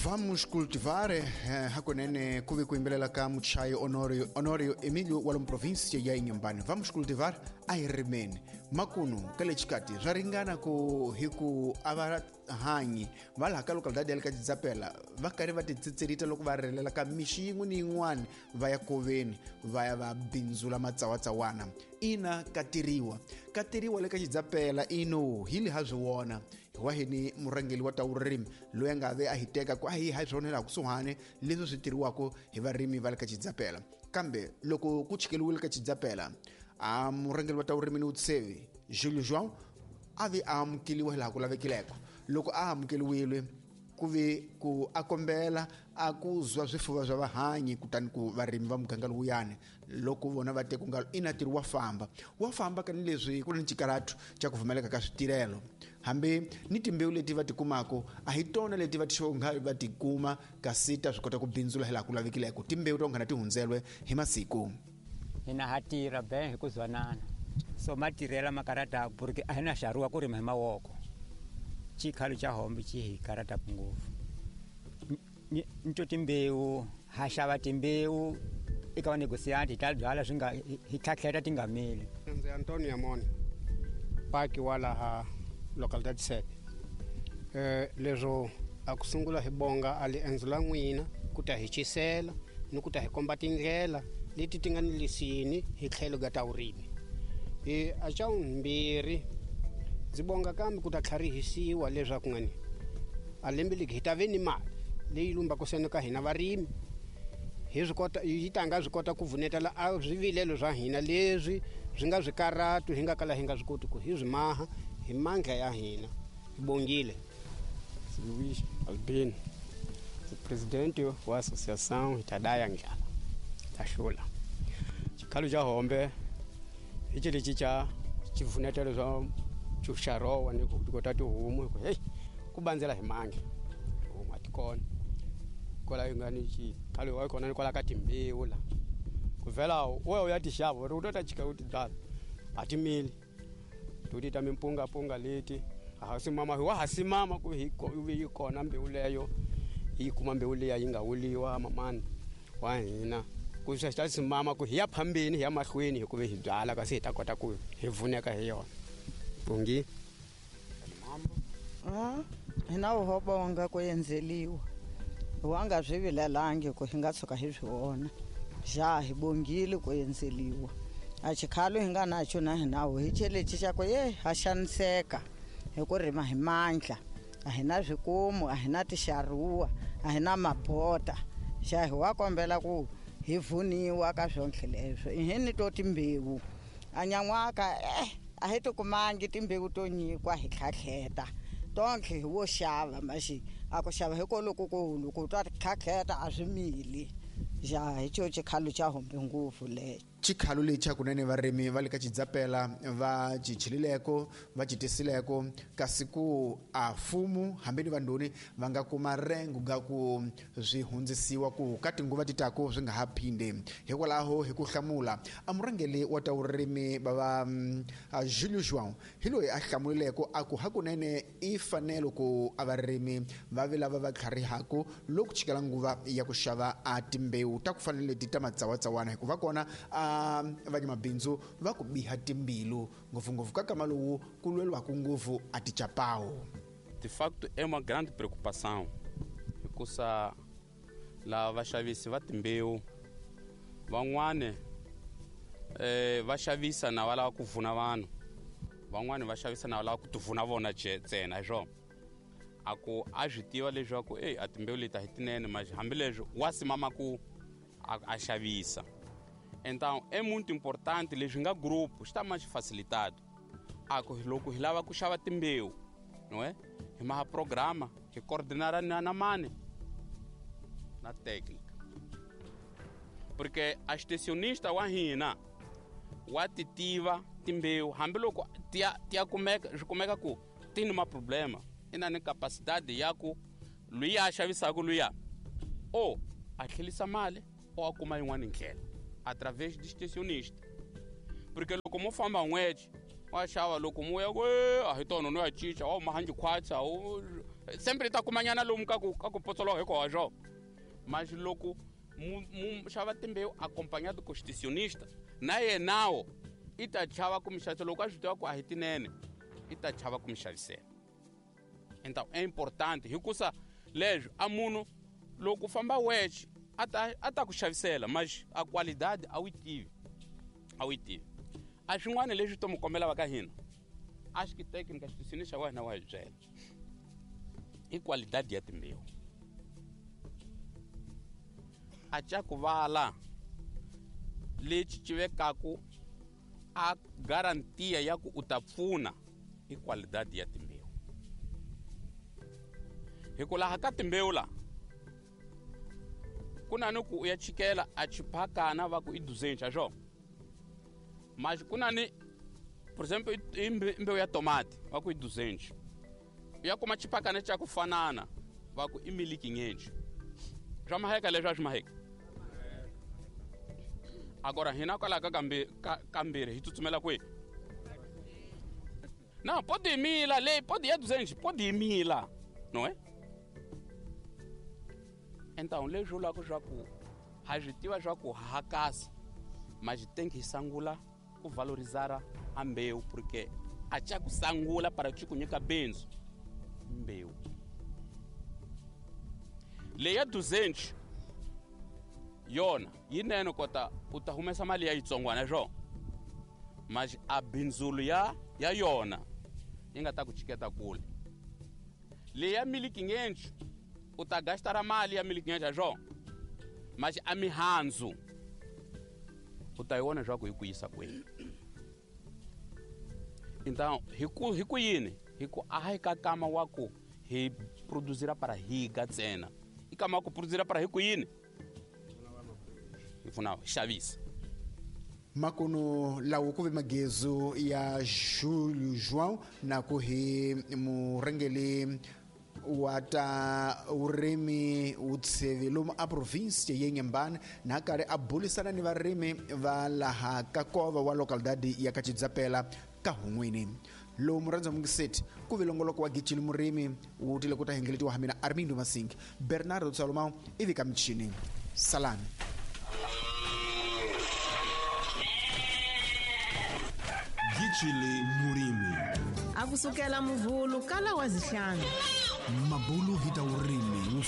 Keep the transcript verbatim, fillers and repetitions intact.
Vamos cultivar eh, hakunene kuve ku yimbelela ka muchayi Honorio Honorio Emilio wa lomu provinsia ya Inhambane. Vamos cultivar a hi rimeni makunu ka le xikati swa ringana ku hi ku a va hanyi va laha ka localidade ya le ka Chidzapela va karhi va titsitsilita loko va rilela ka mixi yin'we ni yin'wana va ya koveni va ya va bindzula matsawatsawana. Ina katiriwa katiriwa le ka Chidzapela ino hi le ha swi vona hi wa hini murhangeri wa ta vurimi loyi a nga ve a hi teka ku a hi ha swona laha kusuhani leswi swi tirhiwaka hi varimi va le ka Chidzapela. Kambe loko ku chikeliwile ka Chidzapela a murhangeri wa ta vurimi ni vutsevi Julio João a ve a amukeliwa hi laha ku lavekileko. Loko a amukeliwile ku ve ku a kombela a ku zwa swifuva swa vahanyi kutani ku varimi va muganga lowuyani loko vona va te ku nga ina ntirho wa famba wa famba ka ni leswi ku ri ni xikaratu xa ku pfumaleka ka switirhelo hambi ni timbewu leti va ti kumaka a hi tona leti va ti nga va ti kuma kasi ta swi kota ku bindzula hi laha ku lavekileko timbewu to nghana ti hundzelwe hi masiku. Hina ha tirha be hi ku zwanana so matirhela makarata porque a hi na xaruwa ku rima hi mavoko xikhalo xa hombe xi hi karata ngopfu. Nto timbewu ha xava timbewu eka vanegosianti hi ta byala swi nga hi tlhatlheta ti nga mili. Ndzi Antonio Yamoni paki wa laha localidade sete. Eh leswo a ku sungula hi bonga a li endzo la n'wina ku ta hi cisela ni ku ta hi komba tindlela leti ti nga ni lisini hi tlhelo ka ta vurimi. E a xa vumbirhi ndzi bonga kambe ku ta tlharihisiwa leswaku ngani a lembe legi hi ta ve ni mali leyi lumbaka sene ka hina varimi hi swi kota yi ta nga swi kota ku vunetela a swivilelo swa hina leswi swi nga swikaratu hi nga kala hi nga swi koti ku hi swi maha hi mandla ya hina. Hi bongile. Luiz Albino, presidente wa associação Itadaya Ndlala Taxula. Xikhalo xa hombe hi xilexi xa xivunetelo swa xuxarowa ni ku kota tihomu hi ku heyi ku bandzela hi mandla tihomu a ti kona kwala yi nga ni xikhalo wa kona ni kwala ka timbewu la ku vhela u ya u ya ti xava uri u to ta chika u ti byala a ti mili to ti ta mimpungapunga leti a ha simama hi wa ha simama ku hi yi kona mbewu leyo hi kuma mbewu liya yi nga wuliwa mamani wa hina ku swi ta simama ku hi ya phambeni hi ya mahlweni hi ku ve hi byala kasi hi ta kota ku hi vuneka hi yona. Bongi. Ah, hina ho bonga ku endzeliwa wa nga swi vilelangi ku hi nga tshuka hi swi vona xa hi bongile ku endzeliwa a xikhalo hi nga naxo na hina hi xelexi xa ku ye ha xaniseka hi ku rima hi mandla a hi na swikomu a hi na tixaruwa a hi na mabota xa hi wa kombela ku hi vuniwa ka swonke leswo i hi ni to timbewu a nyan'waka eh a hi ti kumangi timbewu to nyikwa hi tlhatlheta tonke hi wo xava maxi a ku xava hi kolokukulu ku twa tlhatlheta a swi mili xa hi xo xikhalo xa hombe ngopfu lexo. Xikhalo lexi hakunene varimi va le ka Chidzapela va cichilileko va citisileko kasi ku a fumu hambi ni vandhoni va nga kuma rengo ga ku swi hundzisiwa ku ka tinguva ti tako swi nga ha phinde. Hikwalaho hi ku hlamula a murhangeri wa ta vurimi va va Julio João hi loyi a hlamulileko a ku hakunene i fanele ku a varimi va vi lava va tlharihaku loko chikela nguva ya ku xava a timbewu ta ku fanele leti ta matsawatsawana hikuva kona a vanyamabindzu va ku biha timbilu ngopfungopfu ka kama lowu ku lweliwaka ngopfu a tichapawu. De facto é uma grande preocupação hikusa lava vaxavisi va timbewu van'wani eh va xavisa na va lava ku vuna vanhu van'wani va xavisa na va lava ku tivuna vona ntsena hi swona a ku a swi tiva leswaku eyi a timbewu leti a hi tinene mas hambileswi wa simama ku a xavisa. Então é muito importante leswi nga grupo xi ta ma xi facilitado a ku loko hi lava ku xava timbewu não é hi maha programa hi coordenar na, na mani na técnica porque a extensionista wa hina wa ti tiva timbewu hambiloko ti ya ti ya kumeka swi kumeka ku ti ni maproblema i na ni capacidade ya ku luya a xavisaka luya o a tlhelisa mali o a kuma yin'wana ndlela através de extensionista porque loko mo famba n'weti Wa xava loko mu ya ku a hi tona no ya cinca wa huma hanji khwatsa sempre ta kumanyana lomu ka ku ka ku potsoloka hi koho swo mas loko mu mu xava timbewu acompanhado com extensionista na yenawo i ta chava ku mi xavisela loko a swi tiva ku a hi tinene i ta chava ku mi xavisela. Então é importante hikusa leswi a munhu loko u famba wexe a ta a ta ku xavisela mas a qualidade a wu yi tivi a wu yi tivi. A swin'wana leswi to mi kombela va ka hina a xi técnica xituxini xa wena wa hi byela i qualidade ya timbewu a ca ku vala lexi ci vekaku a garantia ya ku u ta pfuna i qualidade ya timbewu hi ku laha ka timbewu la ku na ni ku u ya chikela a chiphakana va ku i duzencha swo mas ku na ni por exemplo i mbewu ya tomate va ku i duzencha u ya kuma chiphakana xa ku fanana va ku i miliki ngenchi swa maheka leswi a swi maheka agora hina kwalaha ka kambe kambirhi hi tsutsumela kwihi na pode yimila leyi pode ya duzenchi pode yimila não é? Então leswi vulaka swa ku ha swi tiva swa ku hakasa mas tem que sangula ku valorizar a mbewu porque a ca ku sangula para ci ku nyika bindzu mbewu leyi ya duzenchi yona yinene kota u ta humesa mali ya yitsongwana swo mas a bindzulu ya ya yona yi nga ta ku chiketa kule. Leyi ya miliki ngenchi u ta gastara mali ya miliki ngenchi swo mas a mihandzu u ta yi vona swa ku yi ku yisa kwihi. Então hi ku hi ku yini hi ku a hi ka kama wa ku hi produzira para higa ntsena i kama wa ku produzira para hi ku yini hi pfuna xavisa. Makuno lawo ku ve magezu ya Julio João na ku hi murhangeli wa ta vurimi vutsheve lomu a province ya Inhambane na karhi a bulisana ni varimi va laha ka kova wa localidade ya Kachidzapela ka Hun'wini. Lowu murhandza mungiseti ku ve longoloko wa Gicili Murimi wu tile ku ta hengeletiwa ha mina Armindo Masing Bernardo Salomão ivi ka michini salani. Gicili Murimi a kusukela muvhulu kala wa zihlanu mabulu hi ta vurimi wu